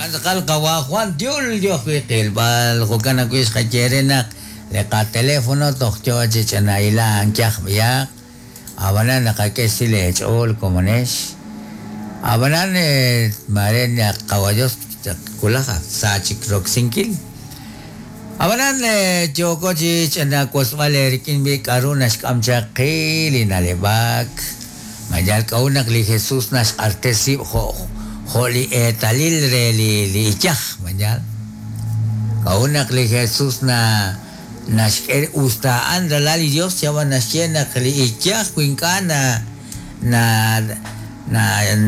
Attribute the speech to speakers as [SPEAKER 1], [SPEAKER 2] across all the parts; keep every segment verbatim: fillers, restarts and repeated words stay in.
[SPEAKER 1] Okan tz'aqal qawa Juan Tiul yo ajwi' qilb'al jo'kan ajwi' xqaye re naq li qateléfono toj yo chi ch'anailan kyaj b'iyaq ab'anan naqak'e xsil eech'ool komonex ab'anan mare naq qawa Dios kulaj sa chik roksinkil ab'anan yooko chi ch'anawosb'al eerik'in b'i k'aru naxk'am chaq qi li naleb'ak mayal k'a'ut naq li Jesús naxq'artes rib' jo' jo' li eetalil re li li iyaj mayal k'a'ut naq li Jesús na naxk'e usta a'an ralal li Dios yawan naxye naq li iyaj wi ink'a' na na na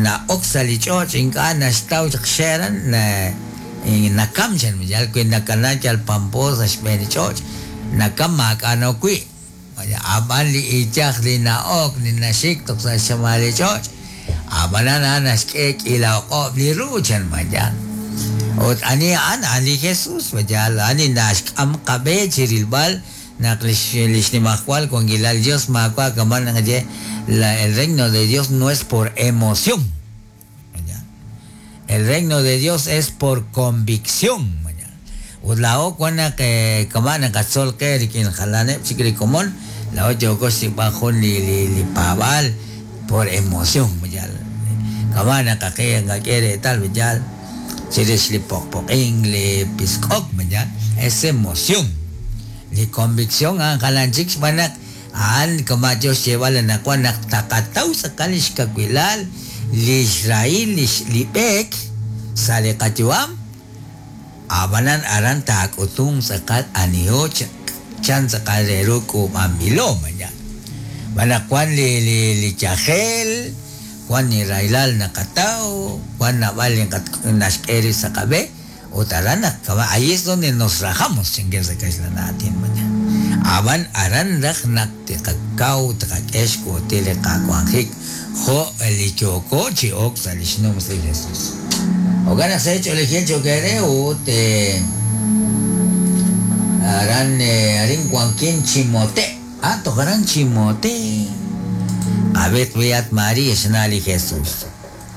[SPEAKER 1] na'ok sa' li ch'och' ink'a' naxtaw chaq xe'ran na nakam chan mayal wi nakana yal pampo sa' xb'een li ch'och' nakam maak'a' nok wi' ab'an li iyaj li na'ok li naxik toj sa' xchamal li ch'och' ab'anan a'an naxk'e k'iila oq'ob' li ru chan mayal ut ani a'an a'an li Jesús mayal ani naxk'am qab'e chi rilb'al naq lix lix nimajwal wankilal Dios maawa' kaman naqaye la el reino de Dios no es por emoción el reino de Dios es por convicción ut laa'o wan naq kama' naqatzol qe rik'in jalaneb' chik li komon laa'o yooko xsik'b'al jun li li li paab'aal por emoción mayal kama' naqaqe nqak'e reetal mayal chirix li poqpoq'in li pisk'ok mayal es emoción li convicción a'an jalan chik xb'aan naq a'an kama' yo xyeeb'al anaqwan naq taqataw tz'aqal li xkawilal li xrahil li b'eek sa' li qayu'am ab'anan aran taak'utum tz'aqal aniho chan tz'aqal re ru k'uub'anb'ilo mayal b'an naq wan li li li yajel wan li rahilal naqataw wan naab'al li naxk'e rib' sa' qab'e ut aran naq kama' ahí es donde nos rajamos chinke sa' kaxlan aatin mayal ab'an aran raj naq tiqakaw tiqak'e xk'uutil li qawanjik jo' li yooko chi ok sa' li xnums li Jesús jo'kan naq sa' ch'oolejil chokere ut aran arin wankin Chimote ah toj aran Chimote qab'et b'iyat María xna' li Jesús